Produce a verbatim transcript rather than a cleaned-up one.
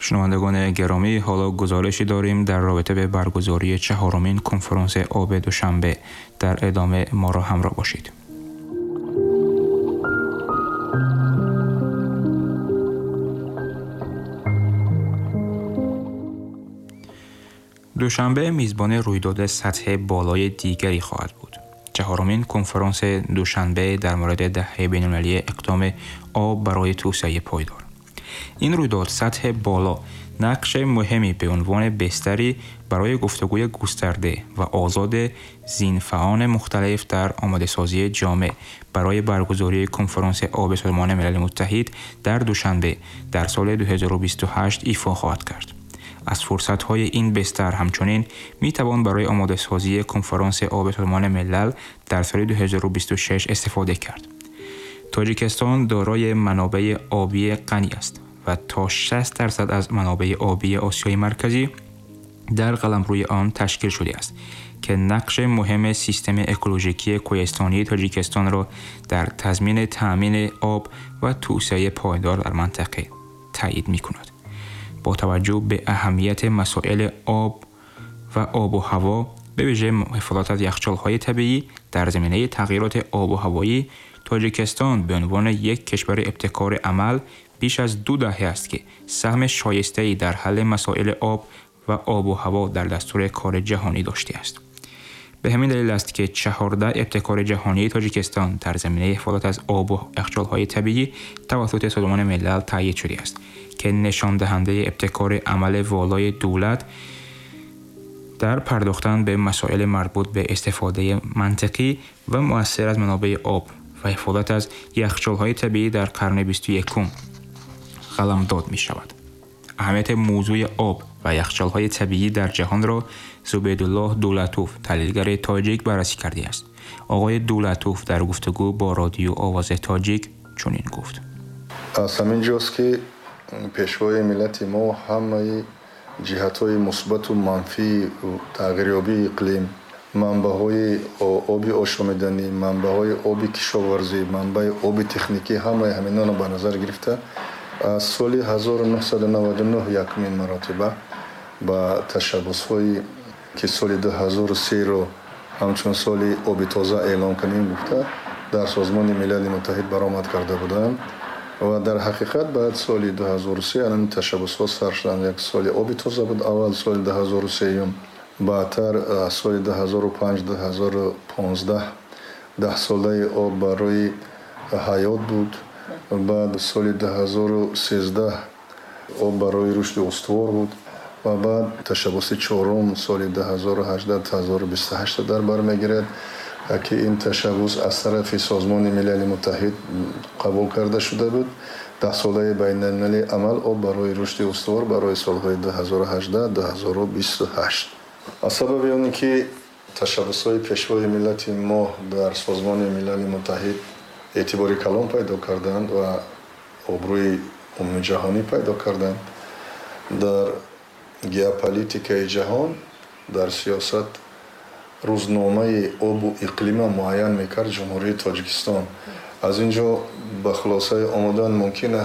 Шунавандагони гиромӣ, ҳоло гузоришӣ дорем дар робита ба баргузории чаҳорумин конфронси оби Душанбе. Дар идома моро ҳамроҳ бошед. Душанбе мизбони рӯйдоди сатҳи болои дигаре хоҳад буд. Чаҳорумин конфронси Душанбе дар мавриди даҳаи байналмилалии иқдоми об барои توسعه پایدار. این رویداد سطح بالا نقش مهمی به عنوان بستری برای گفتگوی گسترده و آزاد ذینفعان مختلف در آماده‌سازی جامع برای برگزاری کنفرانس آب سازمان ملل متحد در دوشنبه در سال دو هزار و بیست و هشت ایفا خواهد کرد. از فرصت‌های این بستر همچنین می‌توان برای آماده‌سازی کنفرانس آب سازمان ملل در سال دو هزار و بیست و شش استفاده کرد. تاجیکستان دارای منابع آبی غنی است و تا شصت درصد از منابع آبی آسیای مرکزی در قلمروی آن تشکیل شده است که نقش مهم سیستم اکولوژیکی کوهستانی تاجیکستان را در تضمین تأمین آب و توسعه پایدار در منطقه تایید می‌کند. با توجه به اهمیت مسائل آب و آب و هوا، به ویژه محافظت از یخچال‌های طبیعی در زمینه تغییرات آب و هوایی، تاجیکستان به عنوان یک کشور ابتکار عمل بیش از دو دهه است که سهم شایسته‌ای در حل مسائل آب و آب و هوا در دستور کار جهانی داشته است. به همین دلیل است که چهارده ابتکار جهانی تاجیکستان در زمینه حفاظت از آب و یخچال‌های طبیعی توسط سازمان ملل تأیید شده است که نشان دهنده ابتکار عمل والای دولت در پرداختن به مسائل مربوط به استفاده منطقی و مؤثر از منابع آب و حفاظت از یخچال‌های طبیعی در قرن بیست و یکم قلمداد می‌شود. اهمیت موضوع آب و یخچال‌های طبیعی در جهان را زبیدالله دولتوف، تحلیلگر تاجیک، بررسی کرده است. آقای دولتوف در گفتگو با رادیو آواز تاجیک چنین گفت: از همین جاست که پیشوای ملت ما همه جهت‌های مثبت و منفی تغییریابی اقلیم، منبع‌های آبی آشامیدنی، منبع‌های آبی کشاورزی، منبع آبی تکنیکی، همه همینا را به نظر گرفته از سال هزار و نهصد و نود و نه یکمین مراتبه با تشبث‌هایی که سال دو هزار و سه رو همچون سال آب تازه اعلام کنیم گفته در سازمان ملل متحد برآمد کرده بودند و در حقیقت بعد سال دو هزار و سه الان تشبث‌ها سر شدند. یک سال آب تازه بود اول سال دو هزار و سه، بعدتر سال دو هزار و پنج، دو هزار و پانزده ده ساله آب برای حیات بود. بعد سال دو هزار و سیزده آب برای رشد استوار بود و بعد تشبث چهارم سال دو هزار و هجده تا دو هزار و بیست و هشت در بر میگیرد که این تشبث از طرف سازمان ملل متحد قبول کرده شده بود. ده ساله بین المللی عمل آب برای رشد استوار برای سالهای دو هزار و هجده تا دو هزار و بیست و هشت. از سبب آن که تشبث‌های پیشوای ملت ما در سازمان ملل متحد اعتبار کلان پیدا کردند و آبروی عمومی جهانی پیدا کردند، در گئوپلیتیکای جهان، در سیاست روزنامه آب و اقلیم معین میکرد جمهوری تاجیکستان. از اینجا به خلاصه آمدن ممکن